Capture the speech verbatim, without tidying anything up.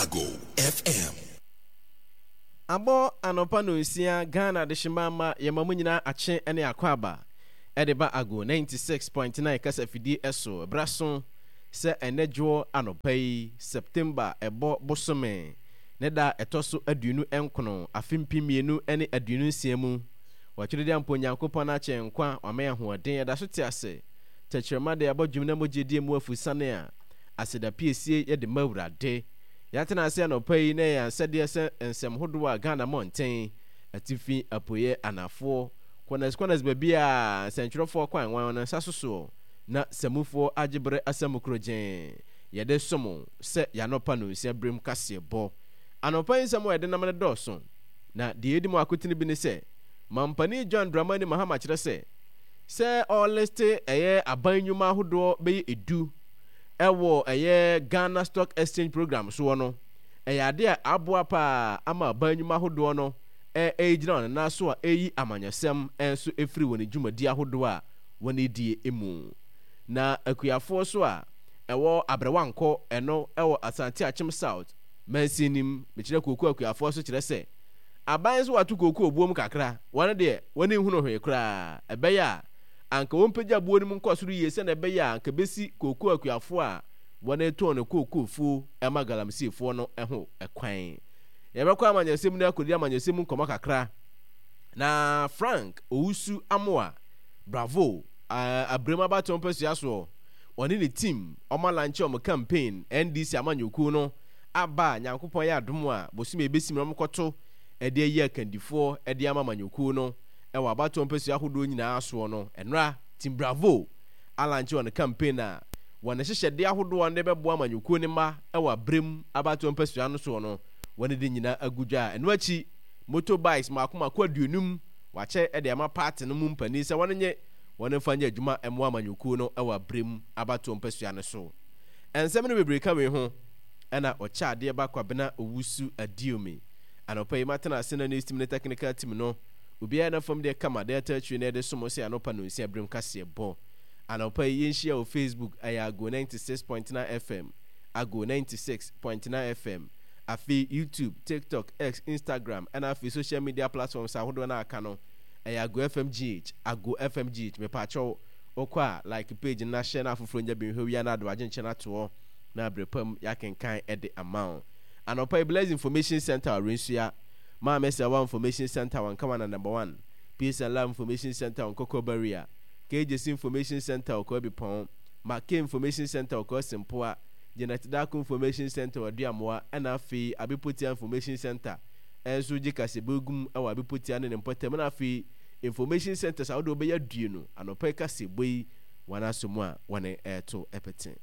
Ago F M. Abɔ anɔpa nonsia. Ghana adehyema ma yɛma mu nyinaa akye ne akɔ aba ɛde ba Ago ninety-six point nine kasa fidie. Ɛso ɛbra so sɛ ɛnɛ dwoɔ anɔpa yi, September ɛbɔ bosome ne da ɛtɔ so aduonu nkron, afe mpem mmienu ne aduonu nsia mu, wɔtwerɛ de ampo Onyankopɔn akyɛ nkwa wama yɛn ahoɔden, yɛda so te ase. Tɛkyerɛma de abɔ dwom na mogye die mu afusane a aseda piesie yɛde ma Awurade. Yɛatena ase anɔpa yi na yɛn asɛdeɛ sɛ nsɛm hodoɔ a Ghana mmɔnten, atifi, apueɛ, anafoɔ, corners corners, baabi a nsɛntwerɛfoɔ kwan wɔn no nsa sosoɔ na samufoɔ agye berɛ asɛm koro gyee yɛde som sɛ yɛanɔpa no nsia berem kaseɛ bɔ. Anɔpa yi nsɛm a yɛde nam no dɔɔso, na deɛ ɛdi mu akotene bi ne sɛ mampanin John Dramani Mahama kyerɛ sɛ sɛ ɔlist ɛyɛ aban nnwuma ahodoɔ bɛyɛ edu ɛwɔ ɛyɛ Ghana Stock Exchange program soɔ no, ɛyɛ ade a aboa paa ama aban nnwuma ahodoɔ no ɛgyina wɔn nan so a ɛyi amanyɔsɛm nso ɛfiri wɔn dwumadi ahodoɔ a wɔn edie mu. Na akuafoɔ so a ɛwɔ Abrɛwankɔ, ɛno ɛwɔ Asante Akyem South mansin nim, mekyerɛ kooko akuafoɔ so kyerɛ sɛ aban nso wato kooko buom kakra, wɔn deɛ wɔn nhunu hwee koraa. Ɛbɛyɛ a anka wɔn mpagya buo no mu nkɔ soro yie sɛnea ɛbɛyɛ a anka bɛsi kooko akuafoɔ a wɔn tɔn no kooko fuo ɛma galamseyfoɔ no ho ɛkwan. Yɛbɛkɔ amanyɔsɛm no akɔdi amanyɔsɛm nkɔmɔ kakra na Frank Owusu Amoa Bravo, Abrem abatoɔ mpasua soɔ, ɔne ne team ɔma launch ɔmo campaign. N D C amanyɔkuo no aba a Nyankopɔn yɛ adom a bosome ebesim na ɔmokɔto ɛde ayi akandifoɔ ɛde ama amanyɔkuo no ɛwɔ abatoɔ mpasua ahodoɔ nyinaa soɔ no. Ɛnora Team Bravo alaunch wɔn campaign a wɔn hyehyɛdeɛ ahodoɔ no de bɛboa amanyɔkuo no mma ɛwɔ Abrem abatoɔ mpasua no soɔ no, wɔn de nyinaa agu dwa. A ɛno akyi, motorbikes mako mako aduonum wakyɛ ɛde ama party no mu mpanin sɛ wɔn nye wɔn mfa nyɛ adwuma mmoa amanyɔkuo no ɛwɔ Abrem abatoɔ mpasua no so. Nsɛm no bebree ka wei ho, ɛna ɔkyɛ adeɛ ba Kwabena Owusu Adiomi. Anɔpa yi matena ase na news team ne technical team no obiara na fam deɛ kama deɛ ɛtɔ akyire na yɛde som sɛ anɔpa no nsia berem kaseɛ bɔ. Anɔpa yi yɛnhyia wɔ Facebook, ɛyɛ Ago ninety-six point nine F M, Ago ninety-six point nine F M. Afei YouTube, TikTok, X, Instagram, ɛna afei social media platforms ahodoɔ no aka no, ɛyɛ Ago F M G H, Ago F M G H. Mepaakyɛw, wokɔ a, like page no na hyɛ na afoforɔ nya bi nhwɛ wia na ado agye nkyɛn atoɔ na abere pam yɛakenkan ɛde ama wo. Anɔpa yi, Blaze Information Center wɔ Rensua, Maame Sɛwa Information Center wɔ Nkawana Number One, Peace and Love Information Center wɔ Nkɔkɔ Barrier, K J C Information Center wɔ Kwabi Pɔn, Make Information Center wɔ Kwasi Mpoa, Janet Dako Information Center wɔ Aduamoa, ɛna afei Abepotia Information Center ɛnso gye kasɛbɔ wɔ Abepotia ne ne mpɔtam, ɛna afei information centers ahodoɔ bɛyɛ aduonu. Anɔpa yi kasɛbɔ yi wɔn aso mu a wɔne ɛɛto ɛpete.